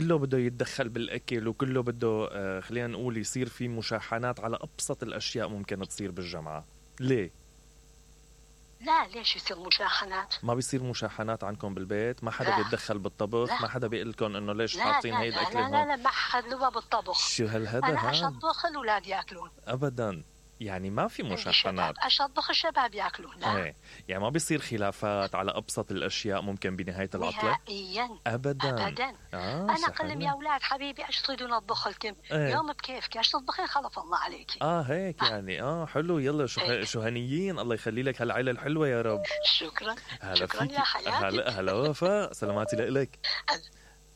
كله بده يتدخل بالأكل وكله بده خلينا نقول يصير في مشاحنات على أبسط الأشياء ممكن تصير بالجامعة. ليه؟ لا ليش يصير مشاحنات؟ ما بيصير مشاحنات عندكم بالبيت؟ ما حدا بيتدخل بالطبخ؟ لا. ما حدا بيقول لكم انه ليش حاطين هي الاكل هون؟ لا ما حد له بالطبخ. شو هالهذا؟ انا اشطبخ الاولاد ياكلون ابدا، يعني ما في مشاحنات. اشطبخ الشباب ياكلون. لا ايه يعني ما بيصير خلافات على ابسط الاشياء ممكن بنهايه العطله؟ نهائيا ابدا. انا قلم يا اولاد حبيبي ايش تريدون اطبخ لكم؟ يوم بكيفك ايش تطبخين خلف الله عليك. هيك يعني حلو. يلا شو هنيين، الله يخلي لك هالعيله الحلوه يا رب. شكرا شكرا يا حياتي. هلا وفاء، سلاماتي لك.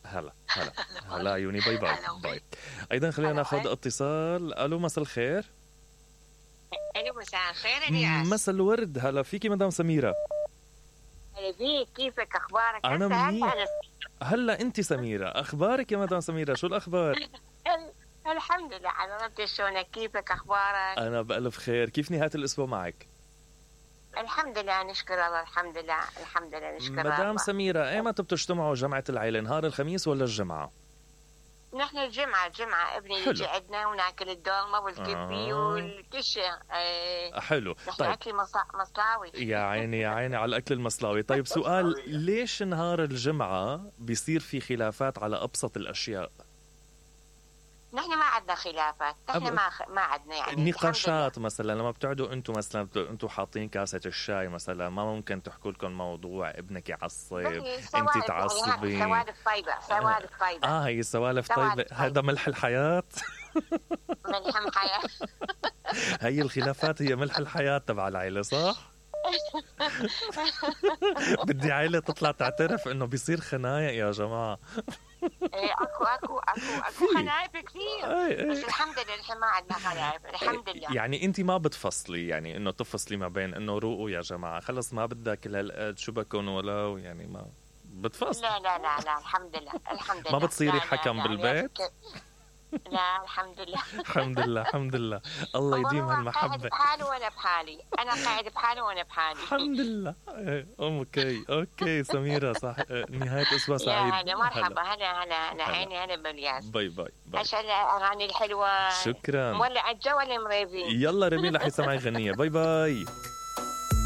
هلا عيوني. باي. ايضا خلينا ناخذ اتصال. الو مساء الخير. الو مساء الخير الياس. مساء الورد. هلا فيكي مدام سميرة. هلا فيك، كيفك اخبارك؟ انا منيح. هلا انت سميرة، اخبارك يا مدام سميرة؟ شو الاخبار؟ الحمد لله حضرتك، شلونك؟ كيفك اخبارك؟ انا بألف خير. كيف نهاية الاسبوع معك؟ الحمد لله نشكر الله. الحمد لله نشكر الله. مدام سميرة، ايمتى بتجتمعوا جمعة العيلة؟ نهار الخميس ولا الجمعة؟ نحن الجمعة ابني يجي عندنا وناكل الدولمة والكبي والكل شيء. حلو. طيب اكل مصلاوي. يا عيني على الاكل المصلاوي. طيب سؤال، ليش نهار الجمعة بيصير في خلافات على ابسط الاشياء؟ نحن ما عندنا خلافات. نحن ما عندنا يعني نقاشات. مثلا لما بتقعدوا انتم مثلا انتم حاطين كاسة الشاي مثلا، ما ممكن تحكوا لكم موضوع ابنك يعصب، انت تعصبي؟ سوالف طيبة. هي سوالف طيبة. هذا ملح الحياة. ملح الحياة. هي الخلافات هي ملح الحياة تبع العيلة، صح؟ بدي عيلة تطلع تعترف انه بيصير خنايق يا جماعة. اكو خنايب كثير. بس الحمد لله نحن ما عندنا خنايب الحمد لله. يعني انت ما بتفصلي، يعني انه تفصلي ما بين انه روقوا يا جماعة خلص ما بدها كل هالقد شو بكون ولو، يعني ما بتفصل؟ لا الحمد لله ما بتصيري حكم بالبيت؟ لا الحمد لله. الحمد لله. الله يديم هالمحبة. قاعد بحالي وانا بحالي. انا قاعد بحالي وانا بحالي. الحمد لله. اوكي سميرة، صح. نهاية اسبوع سعيد. يا مرحبا. هلا عيني. هلا بالياس. باي. عشان الاغاني الحلوة. شكرا. مولع الجو ولا مريبين؟ يلا رمي لحي سمعي غنية. باي.